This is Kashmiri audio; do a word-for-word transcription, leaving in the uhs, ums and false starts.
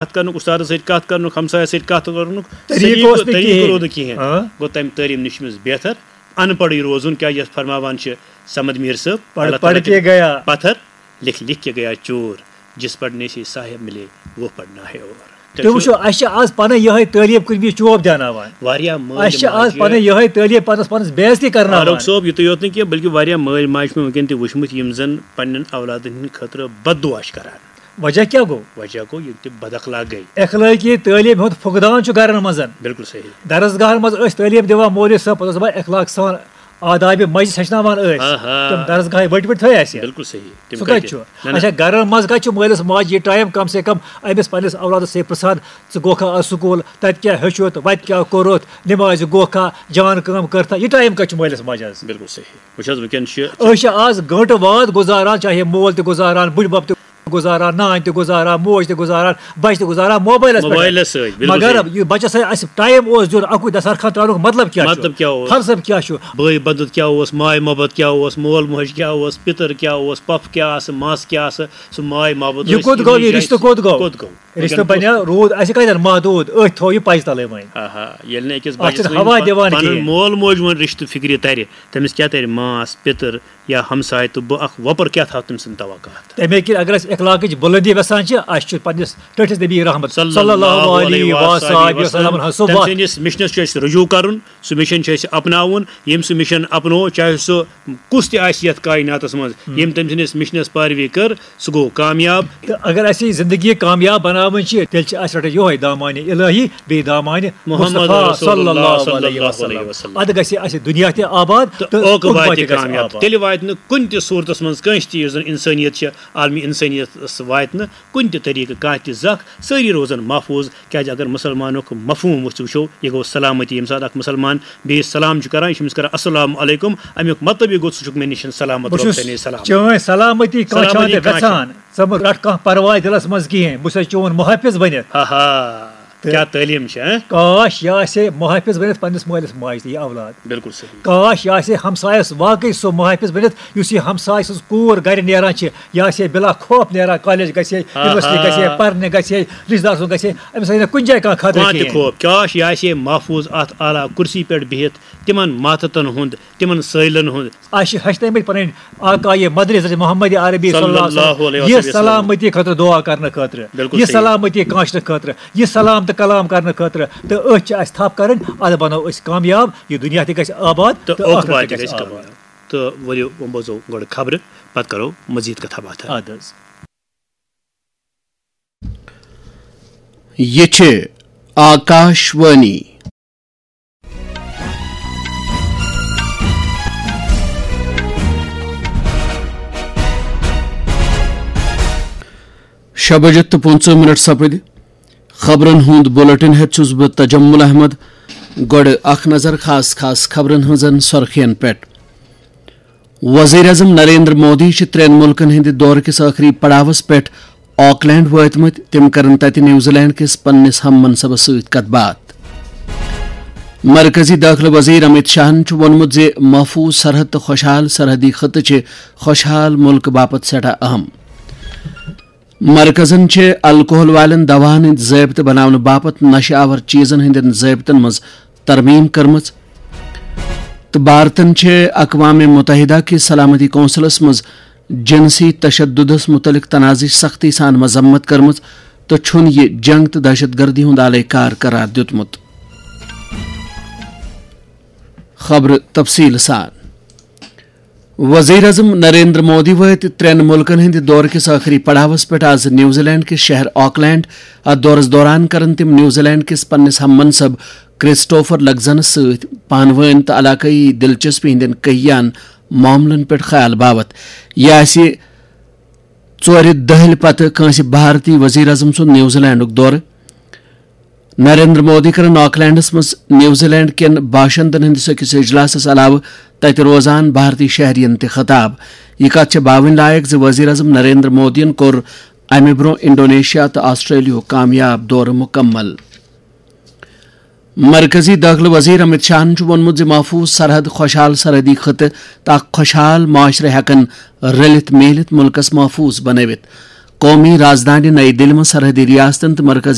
کتھ کرنُک، استادس سۭتۍ کتھ کرنُک، ہمسایس سۭتۍ کتھ کرنُک طریٖقہٕ سلیٖقہٕ، اوس نہٕ طریٖقہٕ کِہیٖنۍ۔ روٗد نہٕ کِہیٖنۍ۔ ہاں۔ گوٚو تمہِ تعلیٖم نِش چھُ أمِس بہتر ان پڑھٕے روزُن، کیٛازِ یتھ فرماوان چھِ صمد میٖر صٲب، پڑھ اللہ پڑھ تعالیٰ کے کٔرِنۍ گیا۔ پتھر، لکھ لکھ کے گیا چور، جس پڑھنے سے صاحب ملے، وہ پڑھنا ہے اور۔ تُہۍ وٕچھِو، اَسہِ چھِ آز پَنٕنۍ یِہوٚے تعلیٖم کُنہِ وِزِ چوب دیٛاناوان۔ واریاہ مٲلۍ اَسہِ چھِ آز ماجہِ پَنٕنۍ یِہوٚے تعلیٖم پَنَس پانَس بے عزتی کرناوان۔ فاروق صٲب، یُتُے یوت نہٕ کینٛہہ، بلکہِ واریاہ مٲلۍ ماجہِ چھِ مےٚ وٕنکیٚن تہِ وٕچھمٕتۍ، یِم زَن پننٮ۪ن اولادَن ہٕنٛدِ خٲطرٕ بد دُعا چھِ کران۔ وجہ کیٛاہ گوٚو؟ وجہ گوٚو یِم تہِ بد اخلاق گٔے۔ اخلٲقی تعلیٖم ہُنٛد فقدان چھُ گرن منٛز۔ بِلکُل صحیح۔ درسگاہن منٛز ٲسۍ تعلیٖم دِوان مولوی صٲب، پتہٕ اوس دَپان اخلاق سان آدابِ مجلس ہیٚچھناوان ٲسۍ۔ آہا۔ تِم درسگاہے ؤٹۍ ؤٹۍ تھٲے اَسہِ۔ بِلکُل صحیح۔ تِم سُہ کَتہِ کَتہِ؟ چھُ؟ نہ، نہ۔ اچھا، گرن منٛز کَتہِ چھُ مٲلِس ماجہِ یہِ ٹایم کم سے کم أمِس پننِس اولادس سۭتۍ پرژھان، ژٕ گوٚکھا آز سکوٗل، تَتہِ کیٛاہ ہیوٚچھُتھ، وَتہِ کیٛاہ کوٚرُتھ، نمازِ گوٚکھا، جان کٲم کٔرتھا، یہِ ٹایم کَتہِ چھُ مٲلِس ماجہِ آز؟ بِلکُل صحیح۔ وٕچھ حظ، وٕنکیٚن چھِ أسۍ چھِ آز گٲنٛٹہٕ واد گُزاران، چاہے مول تہِ گُزاران، بٕڈبب تہِ گُزاران، نانۍ تہِ گُزاران، موج تہِ گُزاران، بچہِ تہِ گُزاران موبایلس پٮ۪ٹھ۔ موبایلس سۭتۍ، بِلکُل مگر صحیح۔ یہِ بچس سۭتۍ اَسہِ ٹایم اوس دیُن اَکُے دسترخوان ترٛاونُک مطلب کیٛاہ چھُ؟ مطلب کیٛاہ اوس؟ فلسفہٕ کیٛاہ چھُ؟ بٲے بندُت کیٛاہ اوس؟ ماے محبت کیٛاہ اوس؟ مول موج کیٛاہ اوس؟ پِتٕر کیٛاہ اوس؟ پۄپھ کیٛاہ آسہٕ؟ مَس کیٛاہ آسہٕ؟ سُہ ماے محبت یہِ ٲسۍ، کوٚت یِمے گوٚو؟ یہِ جایہِ رِشتہٕ کوٚت گوٚو؟ کوٚت گوٚو؟ رِشتہٕ وٕنکیٚن بنیٛاو، روٗد اَسہِ کَتٮ۪ن محدوٗد؟ أتھۍ تھوٚو یہِ پَزِ تَلٕے وۄنۍ۔ آہا، ییٚلہِ نہٕ أکِس اَتھ بَچَس چھِنہٕ وٕنہِ ہوا پَن-، دِوان پَنُن کِہیٖنۍ۔ مول موج وۄنۍ رِشتہٕ فِکرِ تَرِ، تٔمِس کیٛاہ تَرِ؟ ماس، پِتٕر یا ہمساے تہٕ بہٕ اَکھ وۄپَر کیٛاہ تھاوٕ تٔمۍ سٕنٛدِ توقعات؟ تَمے کِنۍ اگر أسۍ اخلاقٕچ بُلندی یَژھان چھِ، اَسہِ چھُ پنٛنِس ٹٲٹھِس نبی رحمت صلی صلی اللہ اللہ علیہ علیہ وآلہ وسلم ہٕنٛز سُہ تٔمۍ وَتھ۔ سٕنٛدِس مِشنَس چھُ اَسہِ رجوع کَرُن، سُہ مِشن چھُ اَسہِ اپناوُن، ییٚمۍ سُہ مِشن اپنوو، چاہے سُہ کُس تہِ آسہِ یَتھ کایناتَس منٛز، ہُم۔ ییٚمۍ تٔمۍ سٕنٛدِس مِشنَس پاروی کٔر، سُہ گوٚو کامیاب۔ تہٕ اگر اَسہِ یہِ زندگی کامیاب بناوٕنۍ چھِ، تیٚلہِ چھِ اَسہِ رَٹٕنۍ یِہوٚے دامانِ الہی، بیٚیہِ دامانِ محمد مصطفیٰ رسول صلی اللہ اللہ صلی صلی اللہ علیہ اللہ علیہ وسلم۔ وسلم۔ اَدٕ گژھِ اَسہِ دُنیا تہِ آباد تہٕ تہٕ عقبہ عقبہ تہِ تہِ گژھِ کامیاب۔ آباد۔ تیٚلہِ واتہِ نہٕ کُنہِ تہِ صوٗرتَس منٛز کٲنٛسہِ تہِ، یُس زَن اِنسٲنیت چھِ، عالمِ اِنسٲنیتَس واتہِ نہٕ کُنہِ تہِ طریٖقہٕ کانٛہہ تہِ زَکھ، سٲری روزَن محفوٗظ۔ کیٛازِ اگر مُسلمانُک مفہوٗم أسۍ وٕچھو، یہِ گوٚو سلامتی۔ ییٚمہِ ساتہٕ اَکھ مُسلمان بیٚیِس سلام چھُ کَران، یہِ چھُ أمِس کَران السلام علیکم، اَمیُک مطلب یہِ گوٚو، ژٕ چھُکھ مےٚ نِش سلامت، بہٕ رۄب چھُس ژےٚ نِش سلامت۔ چٲنۍ سلامتی کانٛہہ چھا سلامتی نہٕ کانٛہہ چھا۔ وٮ۪ژھان، ژٕ مہٕ رَٹھ کانٛہہ پرواے دِلَس منٛز کِہیٖنۍ، بہٕ چھُسَے چون محافظ بٔنِتھ۔ ہا ہا، تہٕ کیٛاہ تعلیٖم چھِ، ہہ؟ کاش یہِ آسہِ ہے محافظ بٔنِتھ پنٛنِس مٲلِس ماجہِ تہٕ یہِ اولاد۔ بِلکُل صحیح۔ کاش یہِ آسہِ ہے ہمسایَس واقعٕے سُہ محافظ بٔنِتھ، یُس یہِ ہمسایہِ سٕنٛز کوٗر گَرِ نیران چھِ، یہِ آسہِ ہے بِلا خوف نیران، کالج گژھِ ہے، ہا یونیورسٹی ہا۔ گژھِ ہے، پَرنہِ گژھِ ہے، رِشتہٕ دار سُنٛد گژھِ ہے، أمِس آسہِ ہے نہٕ کُنہِ جایہِ کانٛہہ خطرٕ کانٛہہ تہِ کِہیٖنۍ۔ خوف۔ کاش یہِ آسہِ ہے محفوٗظ اَتھ اعلیٰ کُرسی پٮ۪ٹھ بِہِتھ، تِمَن ماتحتن ہُنٛد، تِمَن سٲیلَن ہُنٛد۔ اَسہِ چھِ ہیٚچھنٲومٕتۍ پَنٕنۍ آقایہِ مدرِ حضرت محمد عربی صلی صلی اللہ علیہ اللہ وسلم علیہ یہِ وسلم۔ سلامتی خٲطرٕ دُعا کرنہٕ خٲطرٕ، بِلکُل یہِ صحیح۔ سلامتی کٲنٛسہِ خٲطرٕ، یہِ سلام تہٕ کلام کرنہٕ خٲطرٕ، تہٕ أتھۍ چھِ اَسہِ تھپھ کرٕنۍ، اَدٕ بنو أسۍ کامیاب، یہِ دُنیا تہِ گژھِ آباد تہٕ تہٕ عقبہ ٲخرت تہِ تہِ گژھِ گژھِ آباد۔ آباد۔ تہٕ ؤلِو، وۄنۍ بوزو گۄڈٕ خبرٕ، پتہٕ کرو مزید کتھا باتھا۔ اَدٕ حظ۔ یہِ چھِ آکاش وانی۔ شےٚ بجہِ تہٕ پٕنٛژٕہ منٹ سپٕدۍ۔ خبرن ہُنٛد بُلٹن ہٮ۪تھ چھُس بہٕ تجمل احمد۔ گۄڈٕ اکھ نظر خاص خاص خبرن ہٕنٛزن سرخین پٮ۪ٹھ۔ وزیر اعظم نریندر مودی چھِ ترٛٮ۪ن مُلکن ہٕنٛدِ دورٕ کِس ٲخری پڑاوس پٮ۪ٹھ آکلینڈ وٲتمٕتۍ۔ تِم کرن تتہِ نیوزی لینڈ کِس پننِس ہم منصبس سۭتۍ کتھ باتھ۔ مرکزی دٲخلہٕ وزیر امیت شاہن چھُ ووٚنمُت زِ محفوظ سرحد تہٕ خۄشحال سرحدی خطہٕ چھِ خۄشحال مُلکہٕ باپتھ سٮ۪ٹھاہ اہم۔ مرکزن چھِ الکوہل والٮ۪ن دواہن ہٕنٛدۍ ضٲبطہٕ بناونہٕ باپتھ نشہٕ آور چیزن ہٕنٛدٮ۪ن ضٲبطن منٛز ترمیم کٔرمٕژ، تہٕ بھارتن چھِ اقوام متحدہ کِس سلامتی کونسلس منٛز جنسی تشددس متعلق تنازعٕچ سختی سان مذمت کٔرمٕژ تہٕ چھُنہٕ یہِ جنگ تہٕ دہشت گردی ہُنٛد آلے کار قرار دیُتمُت۔ خبرٕ تفصیٖل سان۔ وزیر اعظم نریندر مودی وٲتۍ ترٛٮ۪ن مُلکن ہٕنٛدِ دورٕ کِس ٲخری پڑاوس پٮ۪ٹھ آز نیوزی لینڈ کِس شہر آکلینڈ۔ اتھ دورس دوران کرن تِم نیوزی لینڈ کِس پننِس ہم منصب کرسٹوفر لگزنس سۭتۍ پانہٕ وٲنۍ تہٕ علاقٲیی دلچسپی ہٕنٛدٮ۪ن کہیان معاملن پٮ۪ٹھ خیال باوتھ۔ یہِ آسہِ ژورِ دٔہلہِ پتہٕ کٲنٛسہِ بھارتی وزیر اعظم سُنٛد نیوزی لینڈُک دورٕ۔ نریندر مودی کرن آکلینڈس منٛز نیوزی لینڈ کٮ۪ن باشندن ہٕنٛدِس أکِس اجلاسس علاوٕ تتہِ روزان بھارتی شہرین تہِ خطاب۔ یہِ کتھ چھےٚ باوٕنۍ لایق زِ وزیر اعظم نریندر مودیَن کوٚر امہِ برٛونٛہہ انڈونیشیا تہٕ آسٹریلیاہُک کامیاب دورٕ مُکمل۔ مرکزی دٲخلہٕ وزیر امت شاہن چھُ ووٚنمُت زِ محفوظ سرحد، خۄشحال سرحدی خطہٕ تہٕ اکھ خۄشحال معاشرٕ ہٮ۪کن رٔلِتھ میٖلِتھ مُلکس محفوظ بنٲوِتھ۔ قومی رازدانہِ نئی دِلہِ منٛز سرحدی ریاستن تہٕ مرکزی